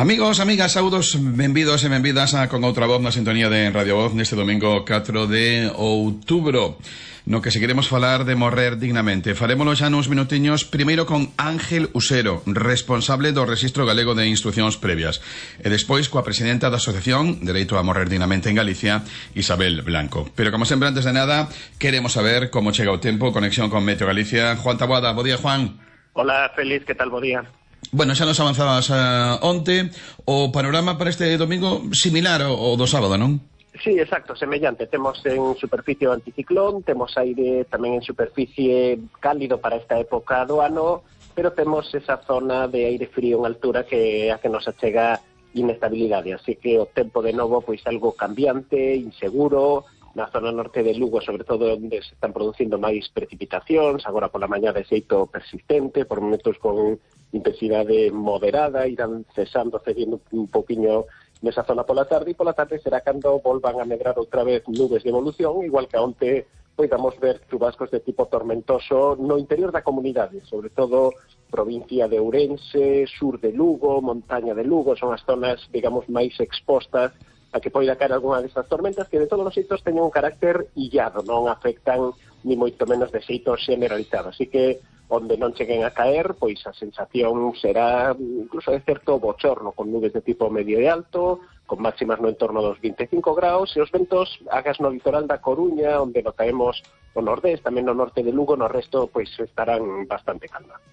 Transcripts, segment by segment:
Amigos, amigas, saudos, benvidos e benvidas a Con Outra Voz na sintonía de Radio Voz neste domingo 4 de outubro, no que seguiremos falar de morrer dignamente. Farémolo xa nuns minutiños, primeiro con Ángel Usero, responsable do Rexistro Galego de Instrucións Previas, e despois coa presidenta da Asociación Dereito a Morrer Dignamente en Galicia, Isabel Blanco. Pero como sempre, antes de nada, queremos saber como chega o tempo, conexión con Meteo Galicia. Juan Taboada, bo día, Juan. Hola, Félix, que tal, bo día? Bueno, xa nos avanzabas onte. O panorama para este domingo similar ao do sábado, non? Sí, exacto, semellante. Temos en superficie o anticiclón, temos aire tamén en superficie cálido para esta época do ano, pero temos esa zona de aire frío en altura que a que nos achega inestabilidade. Así que o tempo de novo pois algo cambiante, inseguro, na zona norte de Lugo, sobre todo onde se están producindo máis precipitacións, agora pola mañá de xeito persistente, por momentos con intensidade moderada, irán cedindo un pouquiño nesa zona pola tarde, e pola tarde será cando volvan a medrar outra vez nubes de evolución, igual que onte podamos ver chubascos de tipo tormentoso no interior da comunidade, sobre todo provincia de Ourense, sur de Lugo, montaña de Lugo, son as zonas, digamos, máis expostas a que poida caer algunha destas tormentas que de todos os xeitos teñen un carácter illado, non afectan ni moito menos de xeito generalizado. Así que onde non cheguen a caer, pois a sensación será incluso de certo bochorno, con nubes de tipo medio e alto, con máximas no entorno dos 25 graus, e os ventos agas no litoral da Coruña, onde notaremos o nordés, tamén no norte de Lugo, no resto pois estarán bastante calmados.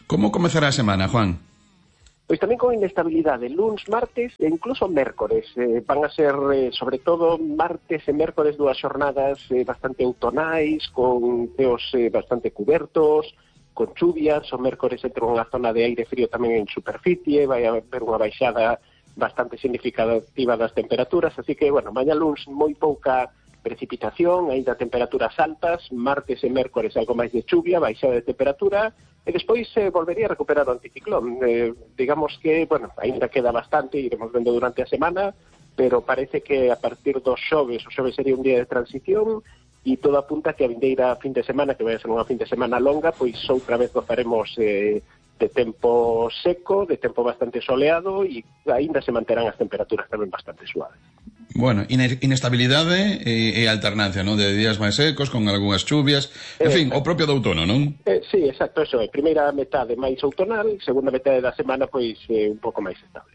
Como comezará a semana, Juan? Pois tamén con inestabilidade, luns, martes e incluso mércores. Van a ser, sobre todo, martes e mércores dúas xornadas bastante outonais, con ceos bastante cubertos, con chuvias. O mércores entre unha zona de aire frío tamén en superficie, vai haber unha baixada bastante significativa das temperaturas, así que, bueno, mañá luns moi pouca precipitación, aínda temperaturas altas, martes e mércores algo máis de chuvia, baixada de temperatura, e despois volvería a recuperar o anticiclón. Digamos que, bueno, aínda queda bastante, iremos vendo durante a semana, pero parece que a partir dos xoves, o xoves sería un día de transición, e todo apunta que a vindeira fin de semana, que vai a ser unha fin de semana longa, pois outra vez gozaremos de tempo seco, de tempo bastante soleado, e aínda se manterán as temperaturas tamén bastante suaves. Bueno, inestabilidade e alternancia, non? De días máis secos, con algunhas chuvias, en fin, o propio do outono, non? Sí, exacto, eso é. Primeira metade máis outonal, segunda metade da semana, pois, un pouco máis estable.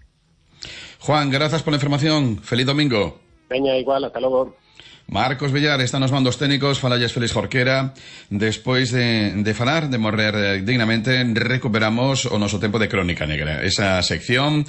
Juan, grazas pola información. Feliz domingo. Veña, igual, ata logo. Marcos Villar está nos mandos técnicos, falalles Félix Jorquera. Despois de falar, de morrer dignamente, recuperamos o noso tempo de Crónica Negra. Esa sección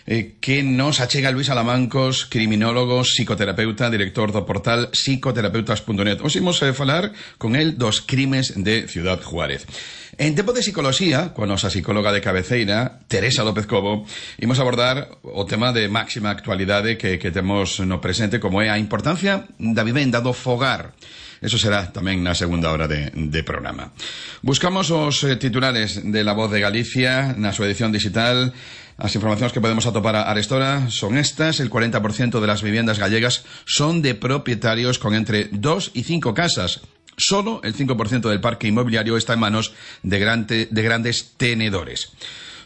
que nos achega Luis Alamancos, criminólogo, psicoterapeuta, director do portal psicoterapeutas.net. Os imos falar con el dos crimes de Ciudad Juárez. En tempo de psicoloxía, coa nosa psicóloga de cabeceira, Teresa López Cobo, imos abordar o tema de máxima actualidade que temos no presente, como é a importancia da vivenda, do fogar. Eso será tamén na segunda hora de programa. Buscamos os titulares de La Voz de Galicia na súa edición digital. As informacións que podemos atopar a arestora son estas: el 40% de las viviendas gallegas son de propietarios con entre 2 y 5 casas. Solo el 5% del parque inmobiliario está en manos de grandes tenedores.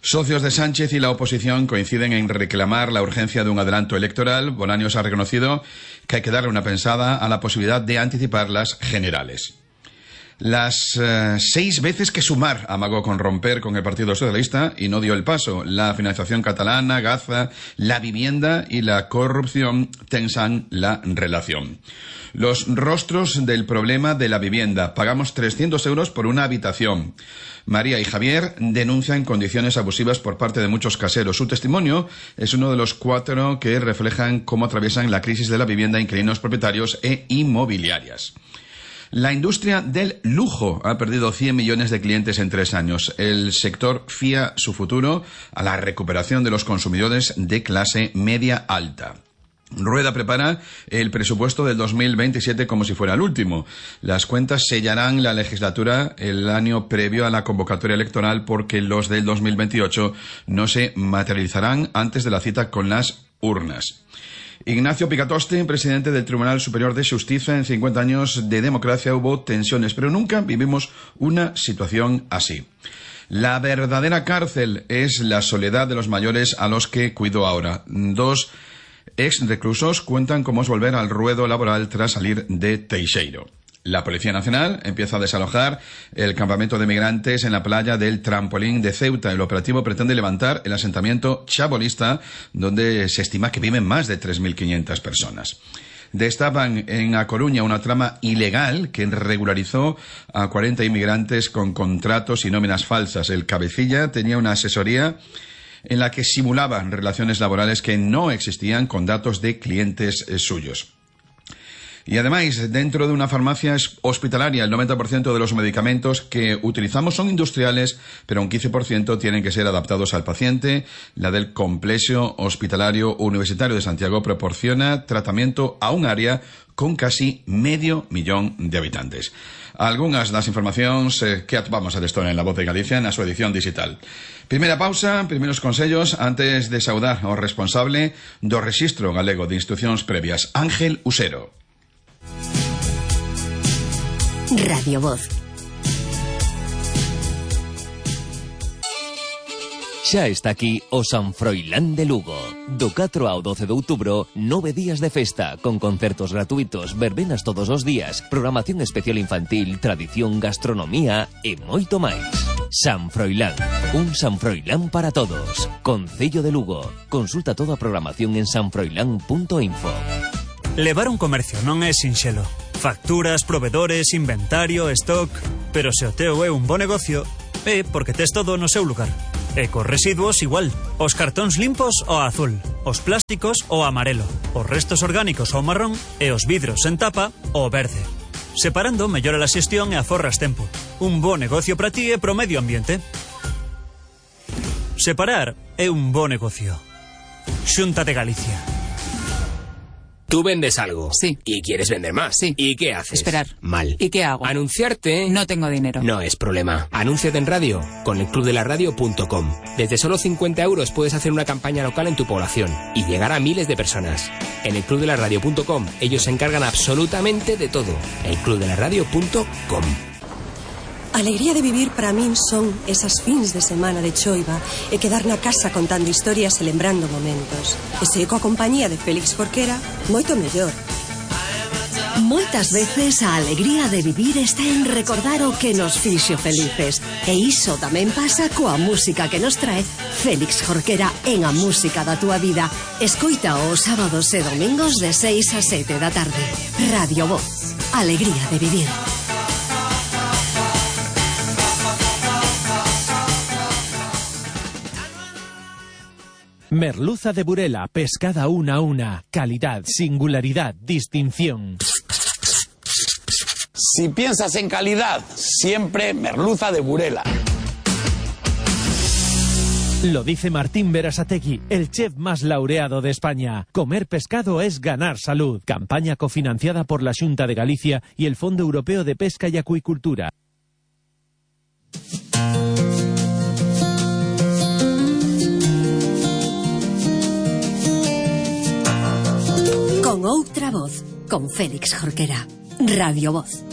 Socios de Sánchez y la oposición coinciden en reclamar la urgencia de un adelanto electoral. Bolaños ha reconocido que hay que darle una pensada a la posibilidad de anticipar las generales. Las 6 veces que Sumar amagó con romper con el Partido Socialista y no dio el paso. La financiación catalana, Gaza, la vivienda y la corrupción tensan la relación. Los rostros del problema de la vivienda. Pagamos 300 euros por una habitación. María y Javier denuncian condiciones abusivas por parte de muchos caseros. Su testimonio es uno de los 4 que reflejan cómo atraviesan la crisis de la vivienda inquilinos propietarios e inmobiliarias. La industria del lujo ha perdido 100 millones de clientes en 3 años. El sector fía su futuro a la recuperación de los consumidores de clase media alta. Rueda prepara el presupuesto del 2027 como si fuera el último. Las cuentas sellarán la legislatura el año previo a la convocatoria electoral, porque los del 2028 no se materializarán antes de la cita con las urnas. Ignacio Picatoste, presidente del Tribunal Superior de Justicia. En 50 años de democracia hubo tensiones, pero nunca vivimos una situación así. La verdadera cárcel es la soledad de los mayores a los que cuido ahora. 2 ex reclusos cuentan cómo es volver al ruedo laboral tras salir de Teixeiro. La Policía Nacional empieza a desalojar el campamento de migrantes en la playa del Trampolín de Ceuta. El operativo pretende levantar el asentamiento chabolista, donde se estima que viven más de 3.500 personas. Destapan en A Coruña una trama ilegal que regularizó a 40 inmigrantes con contratos y nóminas falsas. El cabecilla tenía una asesoría en la que simulaban relaciones laborales que no existían con datos de clientes suyos. Y además, dentro de una farmacia hospitalaria, el 90% de los medicamentos que utilizamos son industriales, pero un 15% tienen que ser adaptados al paciente. La del Complejo Hospitalario Universitario de Santiago proporciona tratamiento a un área con casi 500.000 de habitantes. Algunas das informacións que atopamos a Estona en La Voz de Galicia na súa edición digital. Primeira pausa, primeiros consellos antes de saudar ao responsable do Rexistro Galego de Instruccións Previas, Ángel Usero. Radio Voz. Xa está aquí o San Froilán de Lugo. Do 4 ao 12 de outubro, 9 días de festa, con concertos gratuitos, verbenas todos os días, programación especial infantil, tradición, gastronomía e moito máis. San Froilán, un San Froilán para todos. Concello de Lugo. Consulta toda a programación en sanfroilán.info. Levar un comercio non é sinxelo. Facturas, provedores, inventario, stock... Pero se o teu é un bo negocio, é porque tes todo no seu lugar. E cos residuos igual. Os cartóns limpos ao azul, os plásticos ao amarelo, os restos orgánicos ao marrón e os vidros en tapa ao verde. Separando mellora a xestión e aforras tempo. Un bo negocio para ti e pro medio ambiente. Separar é un bo negocio. Xunta de Galicia. Tú vendes algo. Sí. Y quieres vender más. Sí. ¿Y qué haces? Esperar. Mal. ¿Y qué hago? Anunciarte. No tengo dinero. No es problema. Anúnciate en radio con elclubdelaradio.com. Desde solo 50 euros puedes hacer una campaña local en tu población y llegar a miles de personas. En elclubdelaradio.com ellos se encargan absolutamente de todo. elclubdelaradio.com. A alegría de vivir para min son esas fins de semana de choiva e quedar na casa contando historias e lembrando momentos. E se coa compañía de Félix Jorquera, moito mellor. Moitas veces a alegría de vivir está en recordar o que nos fixo felices. E iso tamén pasa coa música que nos trae Félix Jorquera en A Música da Túa Vida. Escoita os sábados e domingos de 6 a 7 da tarde. Radio Voz. Alegría de vivir. Merluza de Burela, pescada una a una. Calidad, singularidad, distinción. Si piensas en calidad, siempre merluza de Burela. Lo dice Martín Berasategui, el chef más laureado de España. Comer pescado es ganar salud. Campaña cofinanciada por la Xunta de Galicia y el Fondo Europeo de Pesca y Acuicultura. Con outra voz, con Félix Jorquera. Radio Voz.